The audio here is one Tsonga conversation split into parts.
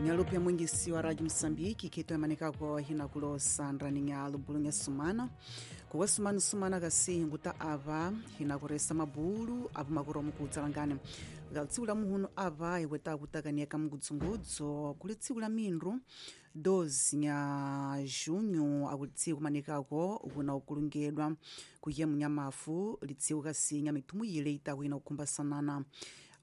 Nyalupe mwingisi wa Radio Msambiki kito yamanikako hina kulosa ndraninya lubulunya sumana kuwa sumana sumana kasi hinguta ava hina kuresa mabulu apo makuro mukudzalangani tsiku la muhunu ava iweta kutakania kamugudzungudzo kuli tsiku la mindru 12 nya junho akuli tsiku manikako kuna ukulungedwa kuye munyamafu litsiku kasi nya mithumu yile itaku ina kukhumbasanana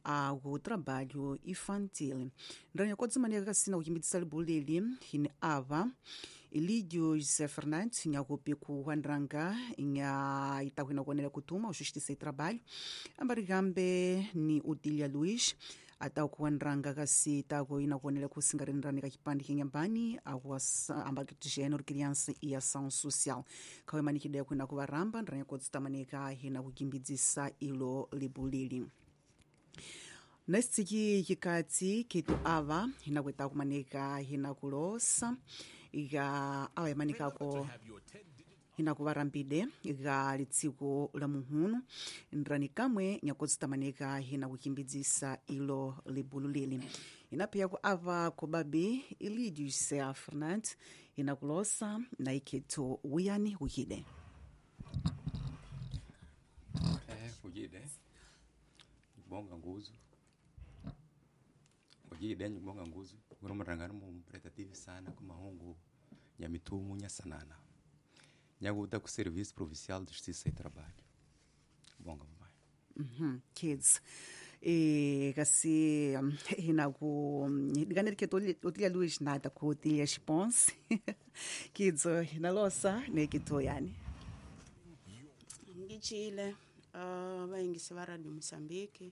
aku trabalho infantil ndranya kodzimanika kasina kuchimbitsisa libuleli hini ava Elidio José Fernandes nyakupi kuwandrang nya itaku inakuonela kutuma Justiça e Trabalho ambarikambe ni Odília Luiz atakuwandrang kasi itaku inakuonela kusingarendrani ka chipande kinyambani ambakiti gênero criança e ação social khawemanikidea kuina kuvaramba ndranya kodzitamanika hina kukimbidzisa ilo libuleli nesitsiki chikatsi kitu ava hinakuita kumanika hinakulosa ika awa yamanikako hinakuvarambide ika litsiku la muhunu ndrani kamwe nyakodzitamanika hinakukimbidzisa ilo libulu lili inapiyaku ava kobabi Elidio José Fernandes hinakulosa na ikhethu wiyani wikide Kujide bonga nguzu kujide bonga nguzu kuromarangana mu prestative sana kumahungu ya mitumu nya sanana nyakuta ku Serviço Provincial de Justiça e Trabalho bonga mamai. Kids kasi hinaku dikaneli keto Otília Luiz nada ku Otília Response kidzo hinalosa nekito yani Ngichile vayingisi va Radio Mozambique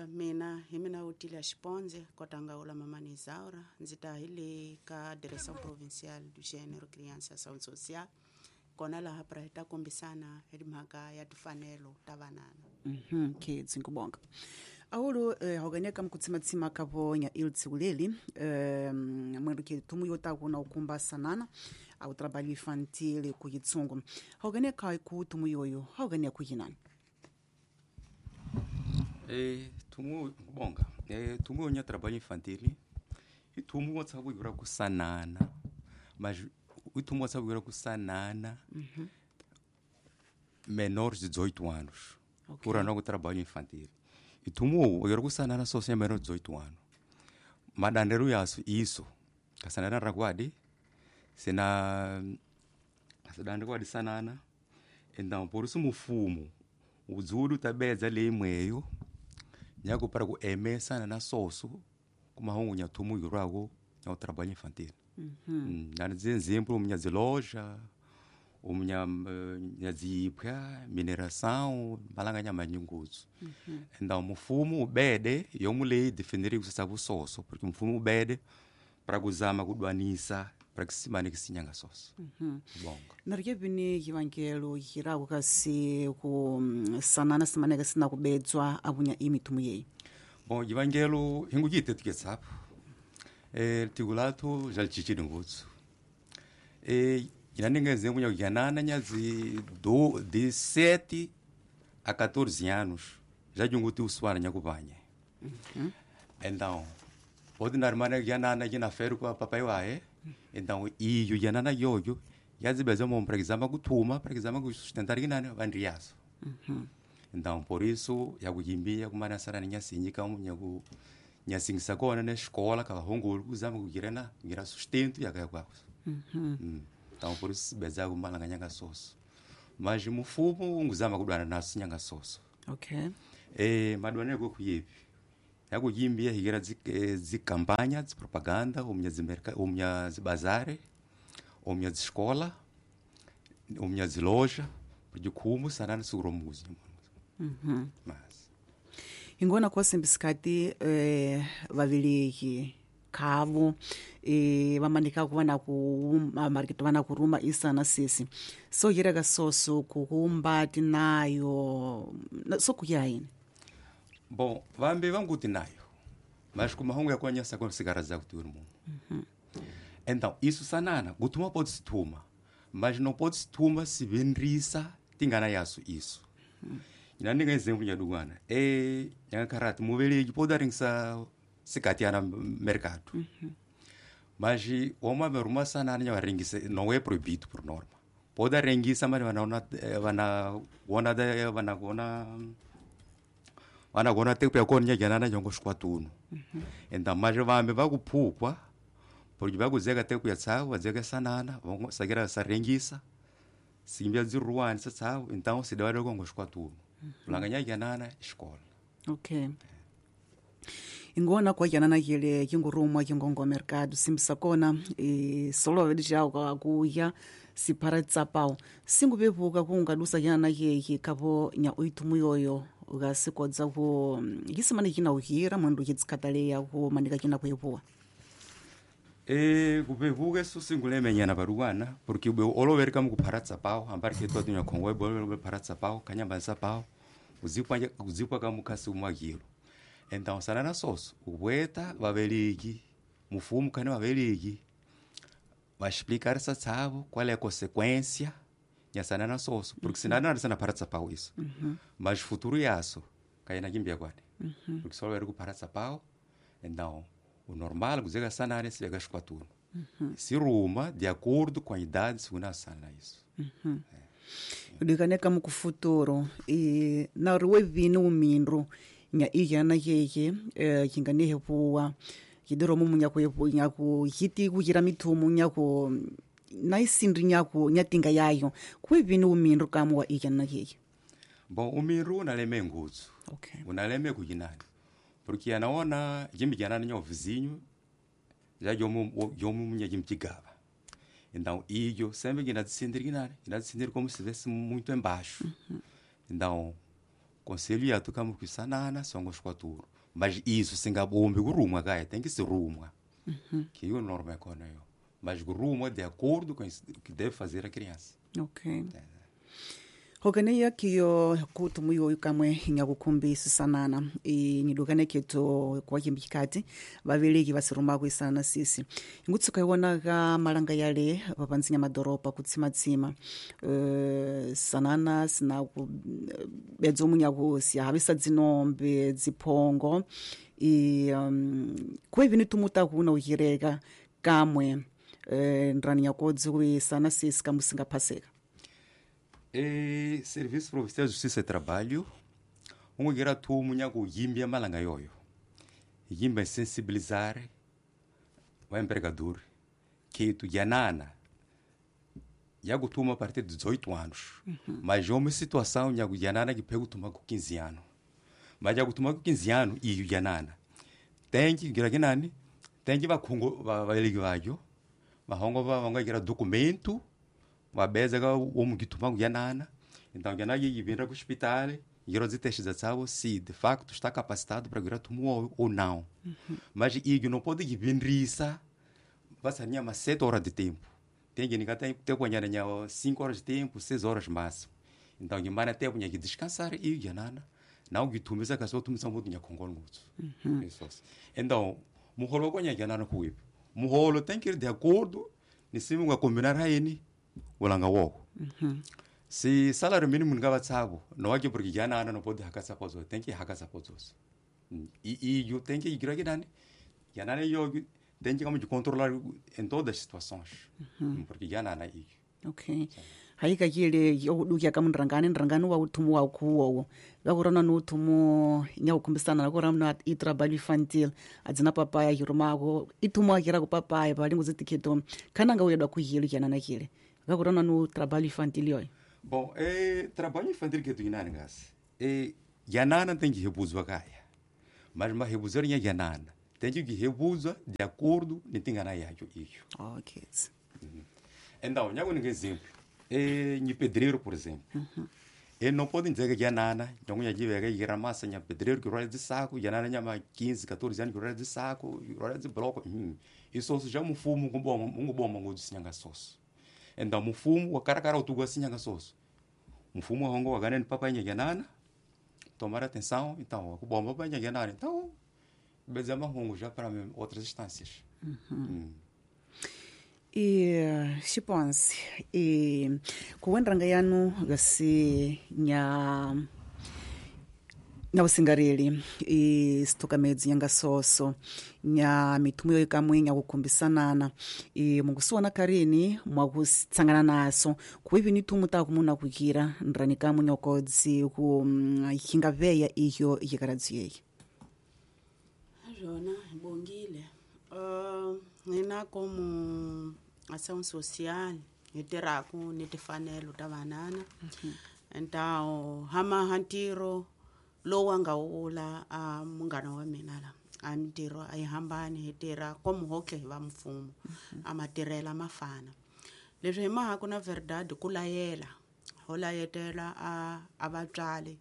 mina hi mina Otília Xiponze kotangaula mamani Isaura ndzi ta hi le ka Direction Provinciale du Gênero Criança Ação Social kona laha pra hi ta kombisana hi mhaka ya timfanelo ta vanana. Kids nkubonga awulu hokanyaka mkutsimatsima kavonya ilo tsiku leli mwendu ke tumu yotaku na ukumba sanana au trabalho infantil ku yitsungu hokanyaka ku tumu yoyo hokanya ku yinani. Tumu bonga tumu nya trabalho infantil itumu wotsa ku ku sanana mas itumu wotsa ku sanana menores de 18 anos. Okay. Por ano trabalho infantil itumu eu kusanana só sem menor de 18 anos madandero yaso isso kasanana rakwadi sena kasadande kwadi sanana então por isso mufumo udzulu tabedza leimweyo nyako para ku emesana na soso kumahungu nyathumu yurako nya trabalho infantil. Nani exemplo minha ziloja umnya nyazipya mineração malanga nya manyunguzo. Então mufumo ubede yomulei definir kusasa soso porque mufumo ubede para kuzama kudwanisa para kisimane kisinyanga soso. Bonga narike bini yivangelo yiraku kasi ku sanana simaneka sina kubedzwa abunya imithumu yeyi. Bom yivangelo hingujite tuketsapo tikulathu jalichichili ngutsu inaninga exemplo nyakuyanana nyazi de 7 a 14 anos já junguti uswana nyakupanye. Então pode narmana yanana yina feru kwa papai wae então iyo yanana yoyo yazibeza mo para exame kuthuma para exame kusustentar kinani vandriyaso. Então por isso yakuyimbia kumana sarana nyasinyi kamu nyaku nyasingisa kona na escola kavahongolo kuzama kugirana ngira sustento yakayakwako. Então por isso beza kumalanga nyanga soso mas mufumo unguzama kudwana naso nyanga soso. Okay. Madwana kuyepi yakuyimbia higira zikampanya zipropaganda umnya zimerka umnya zibazare umnya ziscola umnya ziloja porque como sanana seguromuzi. Mas ingona kwasembisikati vaviliki khavo vamanika ku vana ku mariketi vana kuruma isana sisi so yireka soso kukumba tinayo so kuya yini. Bom vambe vanguti nayo mas kumahungu yakwanyasa kwa sigara za kuti mumu. Então isso sanana kutuma pode se tuma mas não pode se tuma se vendrisa tingana yaso isso. Inaninga exemplo nyadugwana nyankarati muveleki pode aringisa Se na mercado. Mas o homem arruma sanana nya ringisa não é proibido por norma. Pode ringisa mas vana gona te pya konya janana jongo squatuno. Então mas vambe vakuphukwa porque vakuzeka te kuya tsawo vazeka sanana vongo sagira saringisa simbya dziruwani tsawo então se dawale kongo squatuno. Ulanganya janana escola. Okay. Ingona kwa janana yele yingurumwa yingongo mercado simbisa kona e solo vedija kwa kuya sipara tsapao singubevuka kungadusa janana yeye kabo nya oitumu yoyo gasikodza ku yisimane kina uhira mwandu yitsikataleya ku manika kina kuyepuwa. Kupevuka eso singulemenyana paruwana porque oloverika mukuphara tsapao ambari ketu atunya khongo bolo phara tsapao kanyamba tsapao uzikwa kamukhasi umwakilo. Então sanana soso ubweta vaveliki mufumu kane vaveliki vaexplicar essa tsavo qual é a consequência ya sanana soso porque senão não sana para tsapao isso. Mas futuro yaso kaina kimbia kwani. Porque só era para tsapao então o normal kuzeka sanana se vega esquatuno. Se ruma de acordo com a idade segundo a sana isso. Udikaneka mukufuturo e na ruwe vino mindro nya iyana yeye kinganehe puwa kidoro mumu nya kuyepu nya ku hiti kujira mitumu nya ku naisindri nya ku nyatinga yayo kuwe vino mindro kamu wa iyana yeye. Bom, o mindro unaleme ngutsu. Okay. Unaleme kujinani. Porque anaona jimbi janana nyo vizinho já yomu nya jimtigava. Então iyo sempre que na descender ginani, na descender como se estivesse muito embaixo. Então conselho ya tukamu kusanana songo squaturo. Mas isso singabombe kurumwa kaya tem que se rumwa. Que o norma é kona yo. Mas rumwa de acordo com o que deve fazer a criança. Okay. Hokaneya kiyo kutu muyo kamwe nyakukumbisa sanana e nidukane keto kwa kimbikati vaveleki vasiruma kuisana sisi ngutsuka iwona ka malanga yale papanzinya madoropa kutsimatsima sanana sina ku bedzo munyakusi havisa dzinombe dziphongo e kwevini tumuta kuna uhireka kamwe ndrani yakodzi kuisana sisi kamusingaphaseka. E Serviço Provincial de Justiça e Trabalho, ungira tumu nyaku yimbia malanga yoyo. Yimba sensibilizar o empregador que tu yanana yakutuma a partir de 18 anos. Mas é uma situação nyaku yanana que pego tuma com 15 anos. Mas yakutuma com 15 anos e yanana. Tem que gira kinani, tem que vakhongo vaveleki vayo. Vahongo vanga gira documento vabeza ka omu kituma kuyanana. Então yanana yivira ku hospital, yiro teste za se de facto está capacitado para virar tumu ou não. Mas iyo não pode givinrisa basta minha mas 7 horas de tempo. Tem que ninguém tem tempo nya 5 horas de tempo, 6 horas máximo. Então ngimana tempo nya descansar e yanana. Não gitumisa ka so tumisa mutu nya khongolo ngutsu. Isso. Então, muholo ko nya yanana kuipo. Muholo tem que ir de acordo nisimu nga combinar haini ulanga woko. Se salário mínimo ngava tsabo, não é que porque yanana não pode hakasa pozo, tem que hakasa pozo. E eu tenho que ir aqui nani. Yanana eu tem que como de controlar em todas as situações. Porque yanana e Okay. Haika yile yoduya kamunrangani nrangani wa uthumu wa kuwo. Gakurana no uthumu nya ukumbisana nakurana i trabalho infantil adzina papaya yirumako ithumu akira ku papaya palingo zitikheto kana nga uyedwa kuyilo yanana yile. Gakurana no trabalho infantil yoyo. Bom, trabalho infantil que tu inani ngasi. Yanana tem que rebuzwa kaya. Mas ma rebuzwa nya yanana. Tem que rebuzwa de acordo nitingana yacho iyo. Okay. Então, nhago um exemplo. Nhi pedreiro, por exemplo. Ele não pode dizer que yanana, nhago nha jive que ira massa nha pedreiro que rola de saco, yanana nha ma 15, 14 anos que rola de saco, rola de bloco. Isso já mufumo com bom, um bom mango de sinhanga soso. Então, mufumo, o cara cara o tugo sinhanga soso. Mufumo hongo ganhando papai nha yanana. Tomar atenção, então, o bom papai nha yanana. Então, bezama hongo já para outras instâncias. E xiponsi e kuwenranga yanu gasi nya Nawusingareli isithukamedzi nyanga soso nya mithumo yo kamwe nya kukhumbisanana mungusiwana karini mwakutsangana naso kuivi ni thumu ta kumuna kukira nrani kamwe nyokodzi ku hingaveya iyo yikaradzi yeyi Rona bongile nina como ação social hi tirhaku ni timfanelo ta vanana. Então hama ntirho lowu a nga wula a munghana wa mina la a mintirho a yi hambani, hi tirha como hotlhe hi va mfumo a matirhela ma fana. Leswi hi mahaku na verdade ku layela ho layetela a vatswari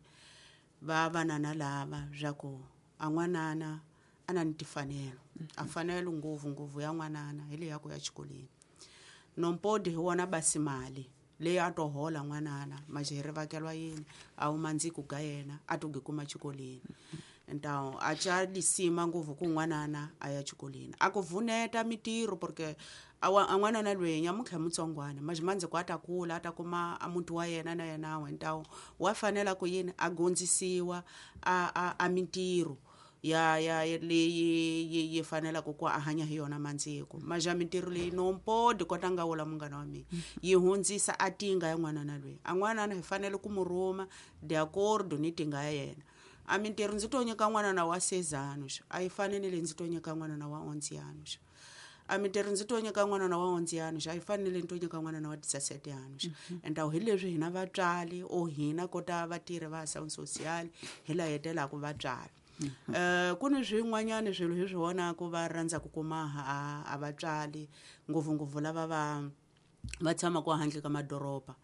va vanana lava swa ku a n'wanana a na ni timfanelo, a fanelo ngopfungopfu ya n'wanana hi leyi ya ku ya xikolweni. Nompodi hi wona basi mali leyi a to hola n'wanana maje hi rivakelwa yini a huma ndziku ga yena a to kuma xikolweni. Então a ca lisima ngopfu ku n'wanana a ya xikolweni a ku vuneta mintirho porque a n'wanana loyi nyamuntlha mutsongwana maje mandziko a ta kula a ta kuma a muti wa yena na yena we. Então wa fanela ku yini a gondzisiwa a mintirho ya leyi yi fanelaka ku a hanya hi yona mandziko. Maja mintirho leyi nompodi kota nga wula munghana wa mina yi hundzisa a tinga ya n'wanana loyi. A n'wanana hi fanele ku mu rhuma de acordo ni tinga ya yena. A mintirho ndzi to nyika n'wanana wa 6 anos a yi fani ni leyi ndzi to nyika n'wanana wa 11 anos. A mintirho ndzi to nyika n'wanana wa 11 anos a yi fani ni leyi ndzi to nyika n'wanana wa 17 anos. Então hi leswi hina vatswari o hina kota vatirhi va ação social hi layetelaka vatswari. Ku ni swin'wanyana swilo hi swi vonaka va rhandza ku kuma a vatswari ngopfungopfu lava va tshamaka handle ka madoroba.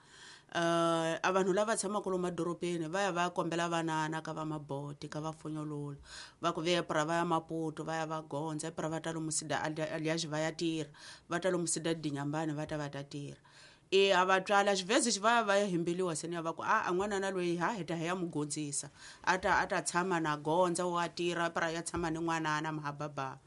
A vanhu lava tshamaka lomu madorobeni va ya va ya kombela vanana ka va maboti ka va funyolola va ku vepra va ya Maputo va ya va gondza epra va ta lomu Sida alias va ya tirha va ta lomu Sida Dinyambane va ta va ta tirha. A vatswari a xivhezi xi va ya va ya hembeliwa seni ya va ku a n'wanana loyi ha hi ta hi ya mu gondzisa a ta tshama na gondza wa tirha pra ya tshama ni n'wanana mahababa.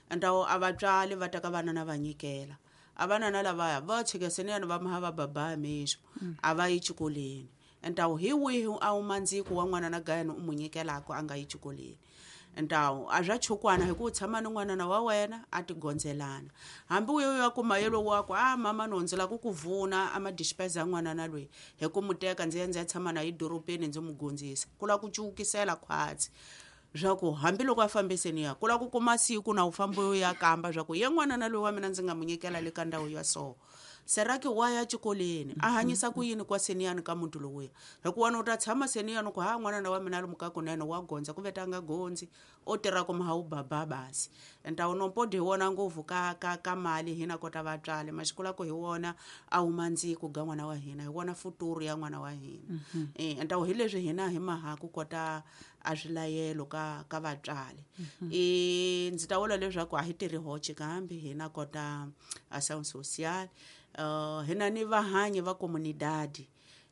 Então a vatswari va teka vanana va nyikela a vanana lavaya va chika seni ya va maha va baba mesmo a va yi xikolweni. Então hi wihi a wu mandziko wa n'wanana gayani u mu nyikelaka a nga yi xikolweni. Então a swa chukwana hi ku tshama ni n'wanana wa wena a ti gondzelana hambi u ya kuma yelo wa ku a mama no ndzi lava ku ku vuna a ma dispensa n'wanana loyi hi ku mu teka ndzi ya ndzi ya tshama na edorobeni ndzi mu gondzisa ku lava ku cukisela khwatsi swa ku hambiloko a fambiseni ya ku lava ku kuma siku na u famba u ya kamba swa ku ye n'wanana loyi wa mina ndzi nga mu nyikela le ka ndhawu ya so seraki wa ya xikolweni a hanyisa ku yini kwa seniyani ka muntu lowuya hikuva wena u ta tshama seniyani ku ha n'wanana wa mina a ri mukakunene wa gondza ku veta a nga gondzi o tirha ku maha wu baba basi. Então nompodi hi wona ngopfu ka mali hina kota vatswari masiku la ku hi wona a huma ndziku ga n'wana wa hina hi wona futuro ya n'wana wa hina. Então hi leswi hina hi maha ku kota a swilayelo ka vatswari. Ndzi ta vula leswaku a hi tirhi hoxe kambe hina kota ação social hina ni vahanyi va comunidade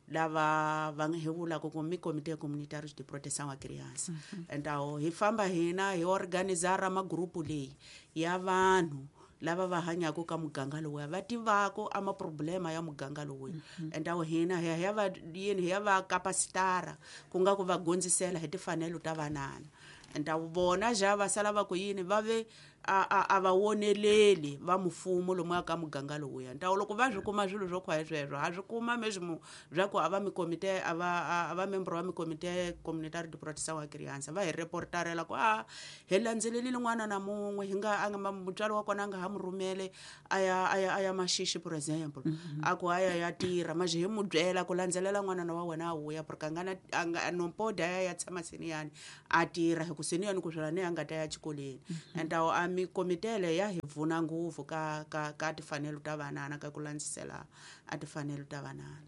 lava va hi vulaka ku mi comité communautaire de proteção à criança. Então hi famba hina hi organizara magrupu leyi ya vanhu lava va hanyaka ka muganga lowuya va tivaka a maproblema ya muganga lowuya. Então hina hi ya va yini hi ya va capacitara ku nga ku va gondzisela hi timfanelo ta vanana. Então vona ja va sala va ku yini va ve a va woneleli va mfumo lomu ka muganga lowuya. Então loko va swi kuma swilo swo khwaye sweswo ha swi kuma mesmo swa ku a va mikomite a va membro wa mikomite communautaire de proteção à criança va hi reportarela ku a hi landzelelile n'wana na mun'we hi nga a nga mutswari wa kona a nga ha mu rhumele a ya Maxixi por exemple a ku a ya tirha maje hi mu byela ku landzelela n'wanana wa wena a vuya porque a nga na nompodi a ya tshama seniyani a tirha hi ku seniyani ku swela ni a nga ta ya xikolweni. Então a mikomitele ya hi pfuna ngopfu ka timfanelo ta vanana ka ku landzisela a timfanelo ta vanana.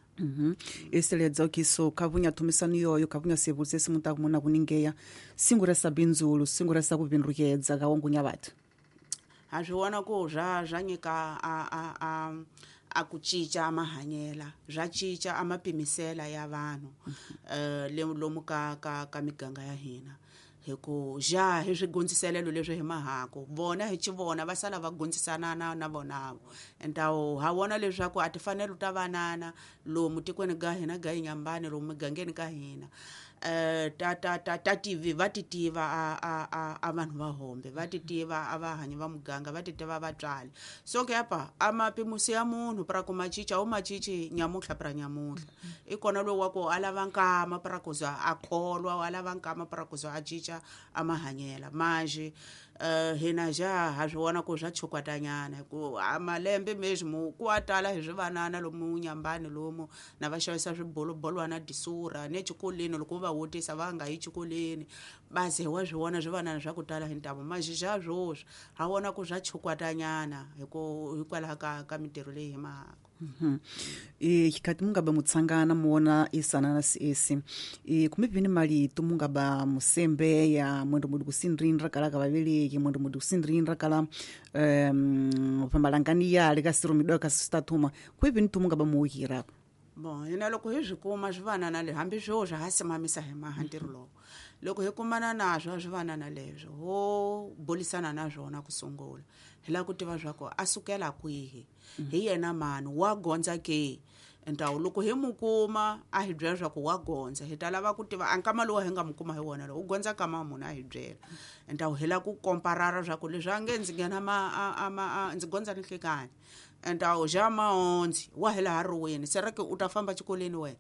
Isiledza kiso kavunya thumisano yoyo kavunya sevutse simuta kumuna kuningeya singuresa bindzulu singuresa ku bindrukedza ka wongunya bathu ha swi vona ku swa nyika a ku cinca mahanyela swa cinca a mapimisela ya vanhu lomu ka miganga ya hina hi ku ja hi swi gondziselelo leswi hi mahaku vona hi xi vona va sala va gondzisana na vonavo. Então ha vona leswaku a timfanelo ta vanana lomu tikweni ga hina ga Inyambane lomu migangeni ka hina Ta ta ta ta tivi va ti tiva a vanhu va hombe, va ti tiva a vahanyi va muganga, va ti tiva vatswali. So ke apa a mapimusi ya munhu pra ku macica u macici nyamutlha pra nyamutlha i kona lowu wa ku a lava nkama pra ku za a kholwa, a lava nkama pra ku za a cinca a mahanyela manje. Hina ja ha swi vona ku swa chukwatanyana ku a malembe meswi mu ku a tala hi swivanana lomu nyambani lomu na va xavisa swibolobolwana disura ne xikolweni, loko va vutisa va nga yi xikolweni baze wa swi vona swivanana swa ku tala hi ntamu manje xa swoswi ha vona ku swa chukwatanyana hikwalaho ka mintirho leyi hi mahaka. Xikati mungaba mutsangana muona isanana siesi kumbe vini malito mungaba musembeya mwendo mudi kusindrinra kala kavaveleki, mwendo mudi kusindrinra kala pambalangani yale kasirumidwa kasitathuma kwevini tu mungaba muukirako? Bon, hina loko hi swi kuma swivanana leswi, hambi swo swa ha simamisa hi maha ntirho lowu, loko hi kumana naswo swivanana leswo ho bulisana na swona ku sungula, hi lava ku tiva swa ku a sukela kwihi, hi yena mani, wa gondza ke. Ntawu loko hi mu kuma a hi byela swa ku wa gondza, hi ta lava ku tiva a nkama lowu hi nga mu kuma hi wona lowu u gondza kama munhu a hi byela. Ntawu hi lava ku komparara swa ku leswi a nge ndzi nghena ma ndzi gondza ni nhlikani, ntawu ja mahondzi wa hi laha riweni sera ke u ta famba xikolweni wena.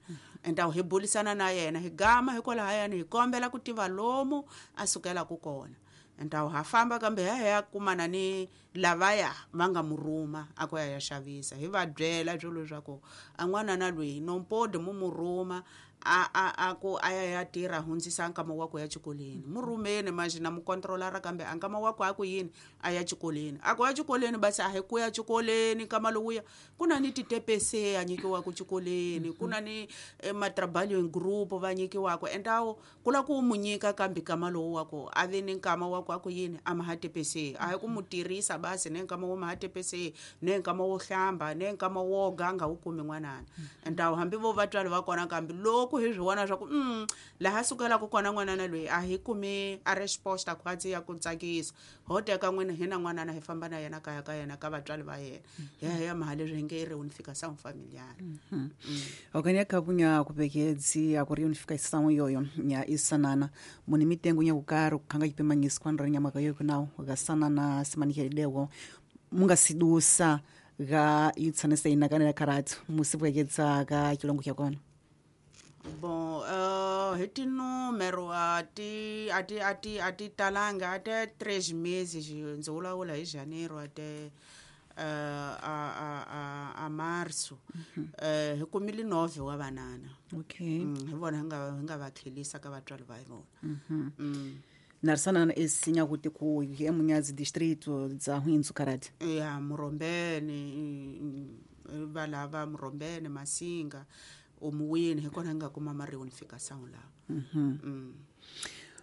Ntawu hi bulisana na yena, hi gama hikwalahayani, hi kombela ku tiva lomu a sukelaku kona. Ntawu ha famba kambe hi ya kumana ni lavaya va nga mu rhuma a ku ya ya xavisa, hi va byela swilo swa ku a n'wanana loyi nompodi mu mu rhuma a ku a ya ya tirha hundzisa nkama wa ku ya xikolweni, mu rhumeni manje na mu controlara kambe a nkama wa ku a ku yini a ya xikolweni, a ku ya xikolweni basi a hi ku ya xikolweni nkama lowuya ku na ni titepese a nyikiwaku xikolweni, ku na ni matraballing group va nyikiwaku endawo ku la ku mu nyika kambe nkama lowu wa ku a ve ni nkama wa ku a ku yini a maha tepese, a hi ku mu tirhisa basi ne nkama wo maha tepese ne nkama wo hlamba ne nkama wo ganga wu kumi n'wanana. Endawo hambi vo vatswari va kona kambe loko hi swi vona swa ku laha sukelaka kona n'wanana loyi a hi kumi a resposta khwatsi ya ku tsakisa, ho teka n'wina hina n'wanana hi famba na yena kaya ka yena ka vatswari va yena, hi ya hi ya maha leswi hi nge i reunification familiar. Okanya kabunya kupekedzi aku reunification yoyo nya isanana muni mitengo nya kukari kukhanga chipemanyisi kwanra nyamaka yoyo kunawo gasanana simanikelidewo mungasidusa ga itsanesa inakanela karatu musipwekedza ka chilongo chakona? Bon, hi tinumero a ti a ti a ti a ti talanga, a te 3 meses, ndzi vulavula hi janeiro a te a marso, hi kumile 9 wa vanana. Okay. Hi vona hi nga va tlhelisa ka vatswari va vona. Narisanana esinya kuti ku emunyazi distrito dza Hwinzu karati? Ya Murombeni, va lava Murombeni, Masinga, omuwini, hi kona hi nga kuma ma-reunification lawa.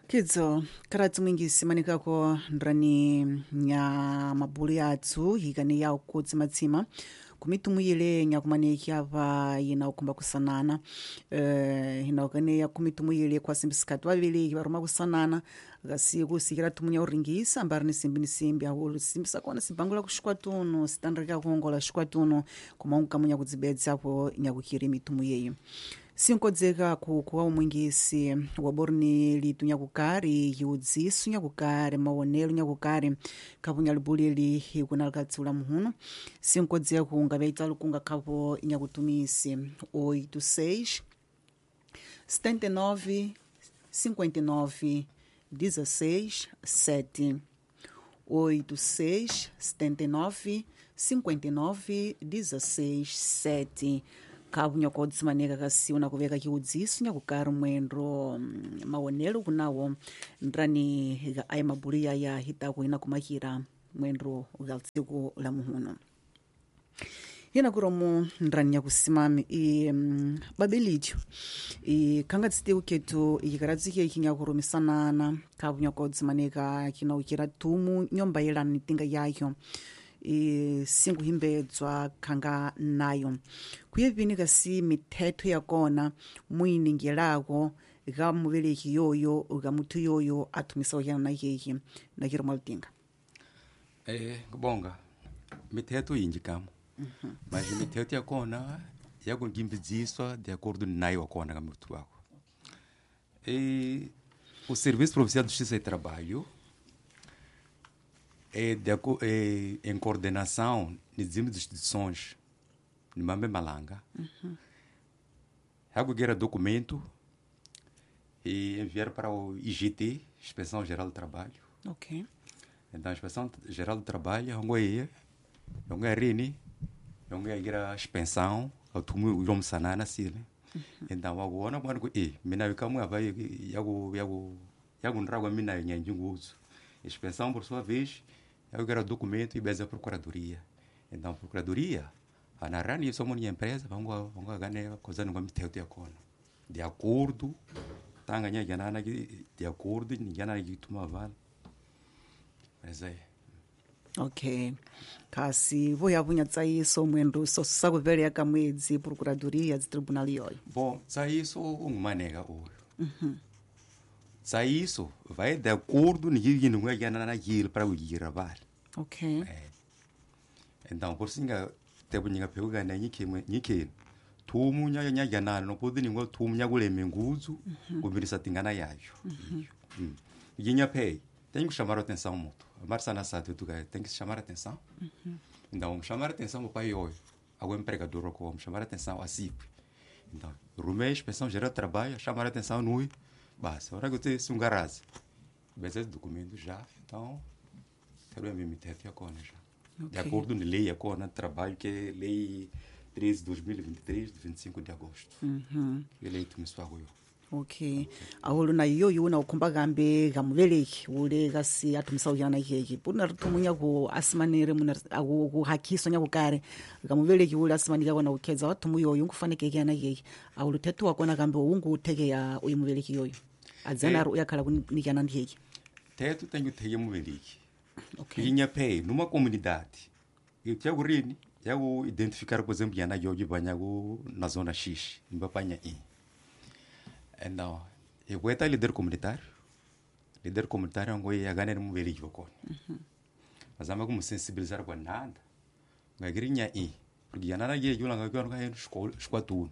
Kidzo karati mwingisi manikako ndrani nya mabulu yatsu hikani ya kutsimatsima kumitumuyile nyakumaneki ava yina ukumba kusanana, hina ukane ya kumitumuyile kwa simbisikati vavili varuma kusanana kasi kusikira tumunya uringisa ambari ni simbi ni simbi ahulu simbisa kona sibangula kuxikwa tunu sitanrika kuongola xikwa tunu kumaungu kamunya kudzibedza po nyakukiri mitumu yeyi sinkodzeka kuwa umwingisi waborni litu nyakukari yiudzisu nyakukari maonelo nyakukari khapo nyalibuleli hikunalikatsiula muhuno sinkodzeka kungaveita lukunga khapo nyakutumisi 86 79 59 16 7, 86 79 59 16 7 khapu nyakodzimaneka kasiwu nakuveka chiudziso nyakukari mwendo maonelo kunawo ndrani ga aya mabulu yaya hitaku ina kumakira mwendo ga tsiku la muhuno yena kuromo ndrani nyakusimami i babelityo i khanga tsitiku ketu ikikaratsi keki nyakurumisanana khapu nyakodzimaneka kinaukira tumu nyomba yelana ni tinga yayo i singuhimbedzwa khanga nayo kuyevini kasi mithetho ya kona muyiningelako ga muveleki yoyo ga muthu yoyo a thumisago yana na yeye na kiri mwalutinga? Kubonga mithetho yinji kamo, mas mithetho ya kona yakungimbidziswa de acordo ni nayo wa kona ka muthu wako. E o Serviço Provincial de Justiça e Trabalho é, em coordenação de instituições de Mambe Malanga. Uhum. Documento e enviar para o IGT, Inspeção Geral do Trabalho. Ok. Então, a Inspeção Geral do Trabalho, a inspeção, então, agora, inspeção, por sua vez, eu quero documento e beza a procuradoria. Então, a procuradoria, a narrani somos uma empresa, vamos ganhar coisa não vai ter de acordo, tá ganhando de acordo, ninguém vai tomar vale. Mas aí. Ok. Kasi voyavunya tsaiso mwendo so sakuvele ka mwedzi procuradoria de tribunal yoyo. Bom, tsaiso ungumaneka oyo. Tsaiso vai de acordo ninguém não vai ganhar naquilo para o gira vale. Ok. É. Então, por singa tebo ninga peuga na nyike nyike tumu nya nya ganana no podi ningo tumu nya kuleme nguzu kubirisa tingana yayo. Yinya pei tem que chamar a atenção muito. Marça na sata tu tem que chamar a atenção. Então, chamar a atenção o pai hoje, ao empregador como chamar a atenção a CIP. Então, rumei inspeção geral do trabalho, chamar a atenção no basta. Ora que eu te sungaraz. Bese documento já, então quero me meter aqui agora já. Okay. De acordo com a lei agora trabalho que é lei 13 de 2023 de 25 de agosto. E lei começou agora. Ok. Aholo na yoyo na ukhomba kambe kamuveleki ule kasi athumisa uyana keke puna rithumunya ku asimanere muna ku hakhiso nya kukare kamuveleki ule asimanika kona ukhedza wathumu yoyo nkufaneke yana keke aholo thethu wakona kambe ungu theke ya uyu muveleki yoyo adzana ari uyakhala kunikana ndiyeke thethu tenyu theke muveleki. Ok. Inya pay numa comunidade eu yago identificar por exemplo yana yoyo banyago na zona X mbapanya i. Então, eu vou estar líder comunitário. Líder comunitário é um que ganha um velho com. Mas ama como sensibilizar com nada. Ngagrinya i, porque yana na ye yula ngagwa nga escola escola tudo.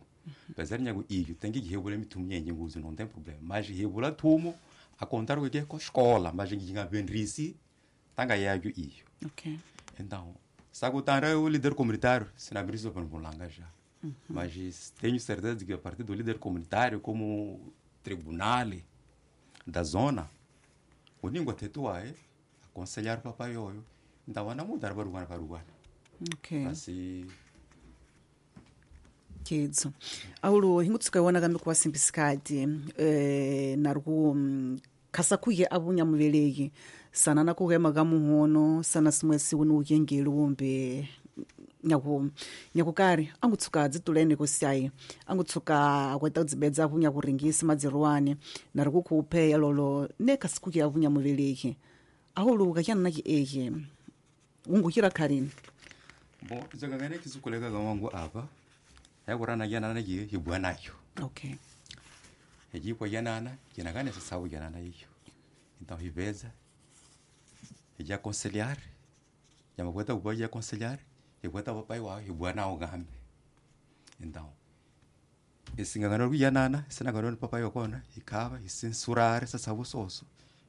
Apesar de nyago i, tem que regular me tumnya nyenguzo não tem problema. Mas regular tumo a contar o que é com escola, mas nginga benrisi tanga yayo i. Ok. Então, sagotara o líder comunitário, se na brisa para bulanga já. Mas tenho certeza de que a partir do líder comunitário, como tribunal da zona, o língua tetua é aconselhar o papai oio. Então, ana mudar para o para o Ok. Assim. Kidzo. Aulo hingutsuka wana kambe kwa simpisikati naruku khasakuye abunya muveleki sana na kuhema ka muhono sana simwe siku ukengeli wombe nyakukari angutsuka dzitulene kusiayi angutsuka akweta kudzibedza avunya kuringisa madzirwani nari kukupheya lolo ne khasikuye avunya muveleki ahuluka kyananaki eke ungukhira kharini. Bom, zakangane kisukuleka kawangu apa yakurana yanana hibwa nayo. Ok. Hijipwa yanana kinakane sasabu yanana iyo. Então hibeza hija aconselhar yamakweta kuba aconselhar ikweta papai wa ibwana ugambe. Então esingangano kuyanana sinangano papai wakona ikava isensurar sasabu soso.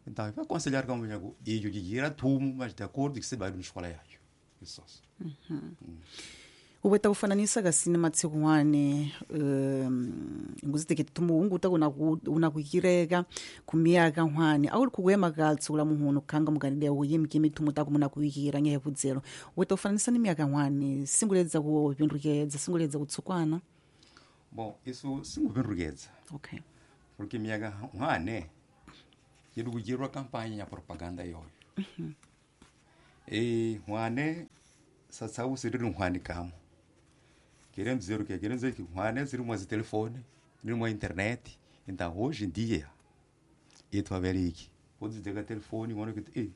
Então vai aconselhar como nyago iyo jigira tumu mas de acordo que se vai na escola yayo. Isso. Ubeta kufananisa kasini matsiku wane nguziteke tumu unguta una kukireka kumiyaka hwane awuli kukwema katsula muhono khanga mukanide uyimike mithumu taku muna kuikira nyehevudzelo ubeta kufananisa ni miyaka hwane singuledza kupindukedza singuledza kutsukwana. Bom, isso singupindukedza. Ok. Porque miyaka hwane yidukujirwa campanha ya propaganda yoyo. E hwane satsau siri hwane kamo. Queremos dizer o quê? Queremos dizer que hwane siri uma telefone, uma internet. Então, hoje em dia, eu averiki. Pode dizer que telefone, mano que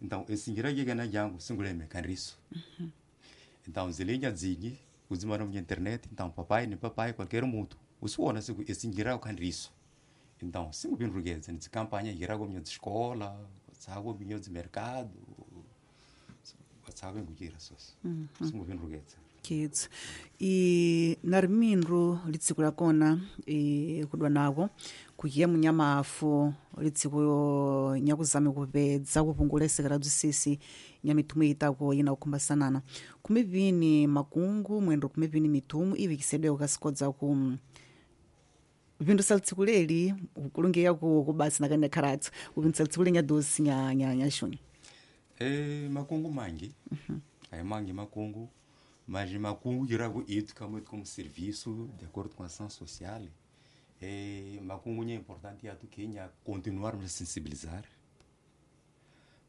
então esse ngira que na jango singuleme kanriso. Então, zilinha zingi, uzimano minha internet, então papai nem papai qualquer mundo. O suona se esse ngira o kanriso. Então, singupindukedza nitsi campanha ngira ko minha escola, sago minha de mercado. Sabe ngukira soso. Singupindukedza. Kids i na rimindru litsiku la kona i kudwa nako kukiya munyamafu litsiku nyakuzame kupedza kupungula isekera bzisisi nyamithumu itako ina kukhumbasanana kumivini makungu mwendo kumivini mithumu ivikisedweko kasikodza ku vindusa litsiku leli kulungeya ku kubasi nakane kharatso kupindisa litsiku lenya dosi nya nya nya xunyu. E makungu mangi aí mangi makungu, mas makungu irago itu como como serviço de acordo com a ação social. E makungu é importante é que continuarmos a sensibilizar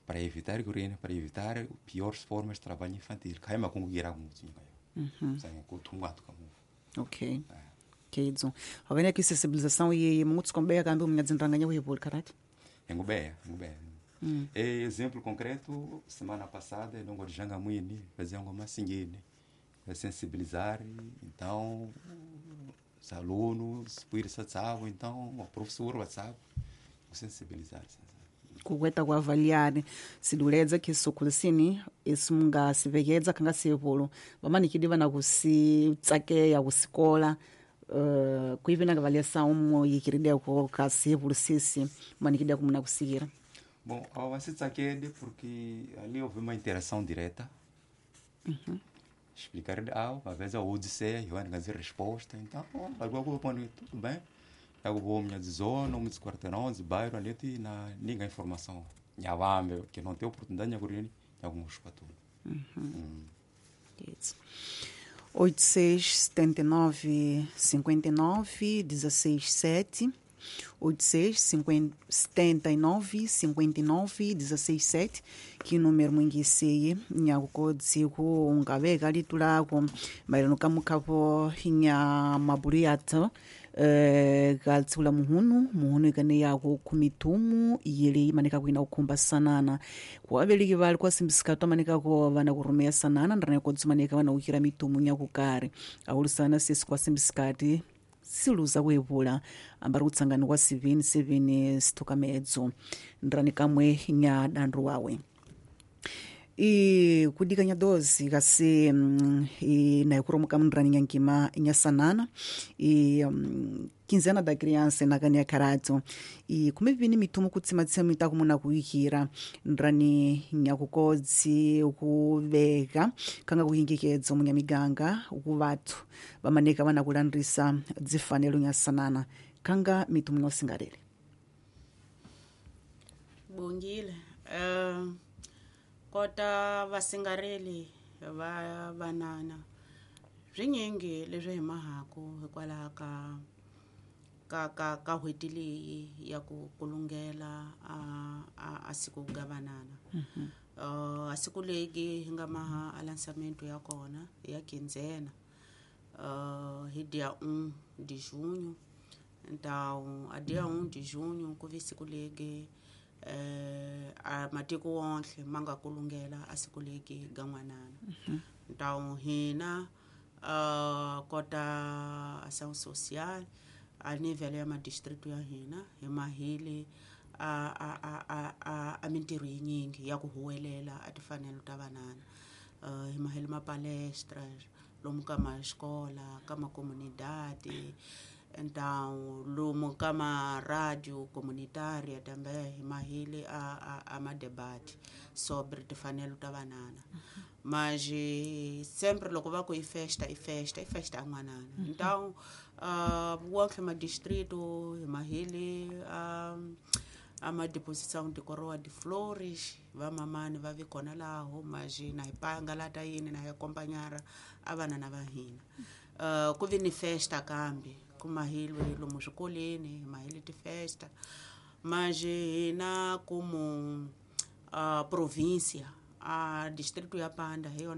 para evitar que para evitar piores formas de trabalho infantil. Kai makungu irago muito ngai sangue kutunga como. Okay, kedzo havene ki sensibilização e muts kombeya kambi munyadzimbanganya kuhipuli karati. Engubeya engubeya. E exemplo concreto, semana passada, eu não janga mwini, fazia uma singene, sensibilizar, então os alunos, por isso sabe, então o professor WhatsApp, sensibilizar. Kukweta kuavaliar siduledza kisukulisini isi munga sivekedza khanga sivulu vamanikidi vana kusitsakeya kusikola kuivi nangavaliasa umo yikirideko kasivulu sisi manikidi kumuna kusikira. Bom, a porque ali houve uma interação direta. Explicar uma vez a Odisseia, eu ia fazer resposta, então, agora eu vou tudo bem. Eu vou minha zona, muitos quarteirões, bairro ali, e na ninguém informação. Nhavambe, que não tem oportunidade, de alguns para tudo. Isso. 86 79 59 16 7 86 50, 79 59 16 7 que número mwingiseye nyakukodziku ungaveka litulako maerano kamukhapo nya mabulu yathu katsiku la muhunu muhunu ikane yako khumitumu yili imanika kuina kukhumba sanana kuaveliki vali kwasimbisika manikako vana kurumeya sanana ndrana kodzimanika vana kukhira mitumu nyakukari aulusana sisi kwasimbisikati siluza kuivula ambari kutsangani kwa 7 7 sithukamedzo ndrani kamwe nya dandu wawe i kudikanya dozi kasi i naikuromuka mundrani nyankima nyasanana i quinzena da criança nakani ya karato i kumivini mithumu kutsimatsima mitako muna kuikira ndrani nyakukodzi kuveka kanga kuhingikedzo munyamiganga kuvathu vamaneka vana kulandrisa dzifanelo nyasanana kanga mithumu nyosingalele. Bongile kota vasingareli va vanana swinyingi leswi hi mahaku hikwalaho ka ka ka ka n'hweti leyi ya ku kulungela a a a siku ga vanana. A siku legi hi nga maha a lançamento ya kona ya quinzena hi dia 1 de junho. Então a dia 1 de junho ku vi siku legi a matiko wonke ma nga kulungela a siku legi ga n'wanana. Então hina kota ação social a nível ya madistrito ya hina hi mahile a a a a a a mintirho yinyingi ya ku huwelela a timfanelo ta vanana. Hi mahile ma palestra lomu ka maxikola ka makomunidade, então lomu ka ma radio comunitária também hi mahile a a a ma debate sobre timfanelo ta vanana. Mas sempre loko va ku i festa i festa i festa ya n'wanana. Então wonke madistrito hi mahile a ma deposição de coroa de flores vamamani va vi kona laho mas na hi pangalata yini na hi acompanhar a vanana va hina. Ku vi ni festa kambe ku mahilwe lomu swikolweni hi mahile tifesta mas hina kumu província a distrito ya Panda hi yona.